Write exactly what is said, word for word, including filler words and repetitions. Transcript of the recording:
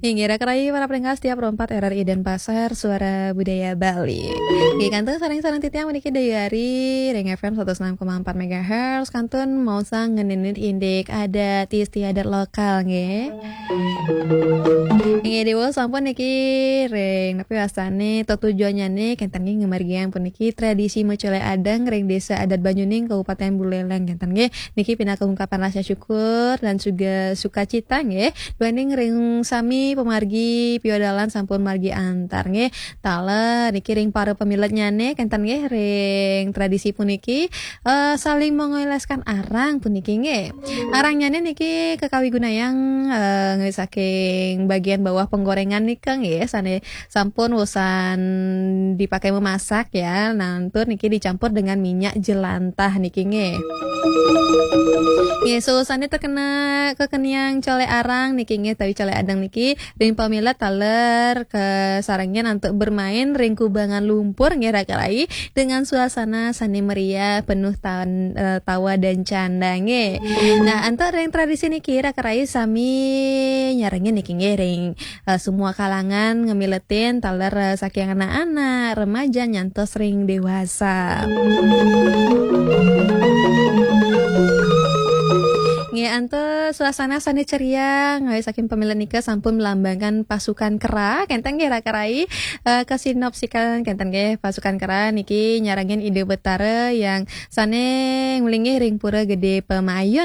Inggih, raka rayi para pendengar setia Pro empat R R I Denpasar, Suara Budaya Bali. Inggih, kantun sareng-sareng titiang puniki Dayu Ari ring F M satus enam koma empat megahertz, kantun maosang ngeninit indik adat istiadat lokal, nggih. Inggih, Déwa sampun niki ring napi wastane tetujuannyane kenten nggih ngamargiang puniki tradisi Macolek Adang ring Desa Adat Banyuning, Kabupaten Buleleng, kenten nggih. Niki pinaka ungkapan rasa syukur dan juga sukacita nggih, duaning ring sami pamargi piodalan sampun margi antar nggih. Taler niki ring para pamiletnyane kenten nggih ring tradisi puniki, eh, saling mengoleskan arang puniki nggih. Arangnyane niki kekawigunayang, eh, nggih saking bagian bawah penggorengan nika nggih, sane sampun wusan dipakai memasak ya. Nah, tur niki dicampur dengan minyak jelantah niki nggih. Nggih, sawusane terkena kekeniang colek arang niki nggih, tawi colek adang niki, ring pamilet taler kasarengin antuk bermain ring kubangan lumpur nggih, raka rayi, dengan suasana sane meriah, penuh tan-, eh, tawa dan canda nggih. Nah, antuk ring tradisi niki, raka rayi sami nyarengin niki nggih, ring eh, semua kalangan ngemiletin taler, eh, saking anak-anak, remaja nyantos ring dewasa. Nggih, antuk suasana sane ceria, nggih, saking pamilet nika sampun melambangkan pasukan kera, kenten nggih raka rayi, eh, kasinopsikan kenten nggih pasukan kera niki nyarengin Ida Betara yang sane nglinggih ring Pura Gede Pamayun.